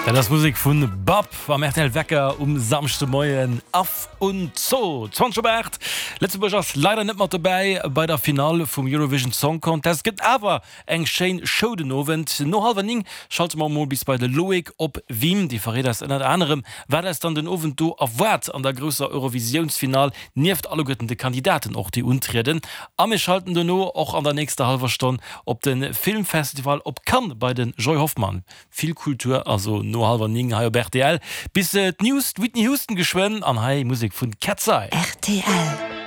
Dat ass Musek vun Bab am rtl Wecker um Samschdemoien. Af und Zoo. 20 op 8. Lëtzebuerg ass leider net mat dobäi bei der Finall vum Eurovision Song Contest. Et gëtt awer eng schéin Show den Owend. No hallwer 9 schalte mer emol bis bei de Loïc op Wien. Dee verréit eis ënnert anerem, wat eis dann den Owend do erwaart an der grousser Eurovisiounsfinall, nieft alleguerten de Kandidaten och, déi untrieden. A mir schalten dono och an der nächster hallwer Stonn op de Filmfestival op Cannes bei de Joy Hoffmann. Vill Kultur also no hallwer 9 hei op rtl. Bis d'News, d'Whitney Houston geschwënn an hei Musek vun Cat's Eye. Rtl.